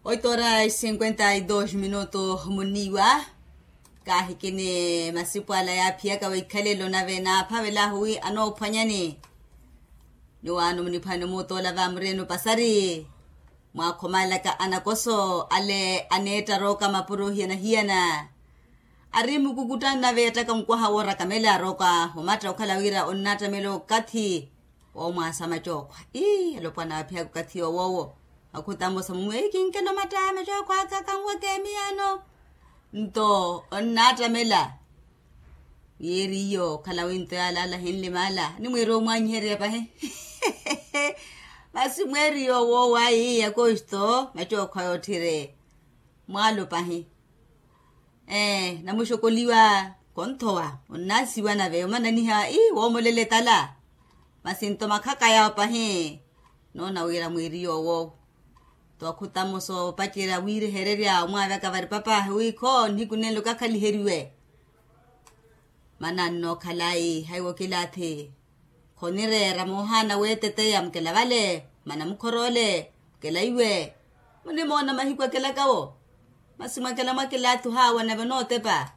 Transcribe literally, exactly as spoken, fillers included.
Oito horas cinquenta e dos minutos muniiwa. Kaahikini masipu ala yaaphiyaka weikhalelo nave naaphavelahu wi anoophwanyani. Nyuwaano muniphwani muutoola vaamureni opasari. Mwaakhomalaka anakoso ale aneetta rooka mapuro hiyana-hiyana. Ari mukukutta nave yattaka mukwaha woorakamela rooka omatta okhala wira onnaattamela okathi. Woomwaasa macookhwa ii alopwana aphiyaka okathi yowoowo. Akhutamosa mumwe kinkela omatta macookhwa aka kanweke miyano. Nto onnaattamela. Yeeri iyo okhala winto yaalaala ahinlimaala nimwiira omwanyiherya pahi. Masi mweeri iyo owoowo ayi akosto macookhwa yootthire. Mwaalo pahi. Ee namuxokoliwa. Konthowa onnaasiwa nave omananiha ii woomolela etala. Masi nto makhaka yawo pahi. Noona wira mwiiri yoowo. Tookhutamo soopacerya wiirehererya omwaavaka vari papaahi wiikho nnihiku nenlo kakhaliheriwe. Mana nnookhala ayi haiwo kilaathi. Khonireera moohaana weeteteya mukela vale mana mukhoroole. Mukela iwe munimoona mahiku akelakawo. Masi mwakela mwakilaathi ohaawa nave onootepa.